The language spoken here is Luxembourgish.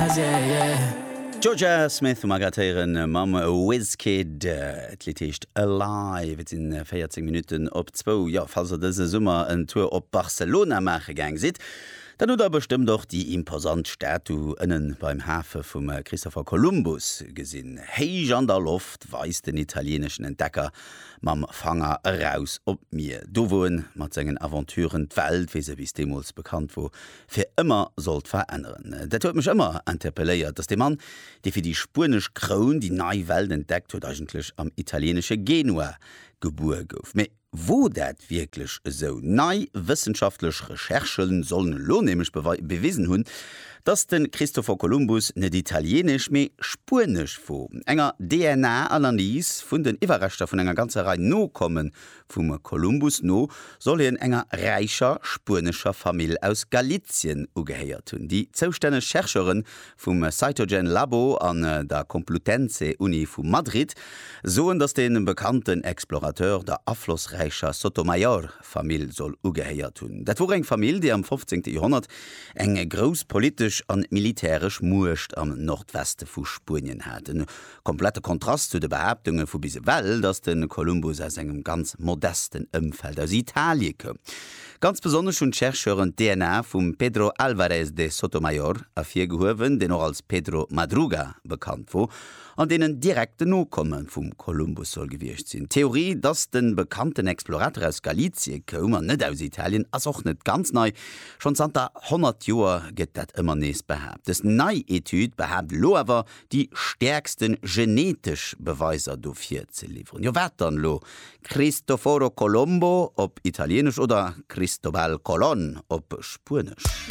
eyes, yeah, yeah. D'Jorja Smith hu mer grad héieren mam Wizkid. D'Lidd heescht Alive. Et sinn 14 Minutten op zwou. Jo, falls der dëse Summer en Tour op Barcelona maache gaang sidd, dann hutt der bestëmmt och déi imposant Statu ënnen beim Hafe vum Christopher Columbus gesinn. Héich an der Loft weist den italieeneschen Entdecker mam Fanger eraus op d'Mier, do wou en mat sengen Aventuren d'Welt, wéi se bis deemools bekannt wor, fir ëmmer sollt veränneren. Dat huet mech ëmmer interpelléiert, datt dee Mann, dee fir déi spuenesch Kroun déi nei Welt entdeckt huet, eigentlech am italieenesche Genua gebuer gouf. Mee wor dat wierklech esou? Nei wëssenschaftlech Recherchë sollen elo nämlech bewisen hunn, datt de Christopher Columbus net italieenesch, mee spuenesch wor. Enger DNA-Analys vun den Iwwerreschter vun enger ganzer Rei Nokomme Vum Kolumbus no soll hien enger räicher spuenescher Famill aus Galizien ugehéiert hunn. Déi zoustänneg Chercheure vum Cytogen Labo an der Complutense Uni vu Madrid soen, datt de bekannten Explorateur der aflossräicher Sotomayor Famill soll ugehéiert hunn. Dat wor eng Famill, déi am 15. Joerhonnert eng grouss politesch an militäresch Muecht am Nordweste vu Spuenien hat. Komplette Kontrast zu de Behaaptunge vu bis ewell, datt de Kolumbus aus engem ganz modesten Ëmfeld aus Italie koum. Ganz besonnesch hunn d'Chercheuren d'DNA vum Pedro Álvarez de Sotomayor ervirgehuewen, deen och als Pedro Madruga bekannt wor, an deen en direkten Nokomme vum Kolumbus soll gewiescht sinn. D'Theorie, datt de bekannten Explorateur aus Galizie koum an net aus Italien, ass och net ganz nei. Schonn zanter 100 Joer gëtt dat ëmmer nees behaapt. Dës nei Etüd behaapt elo awer, déi stäerkste genetesch Beweiser dofir ze liwweren. Jo wat dann elo? Cristoforo Colombo op Italienesch oder Cristobal Colon op Spuenesch?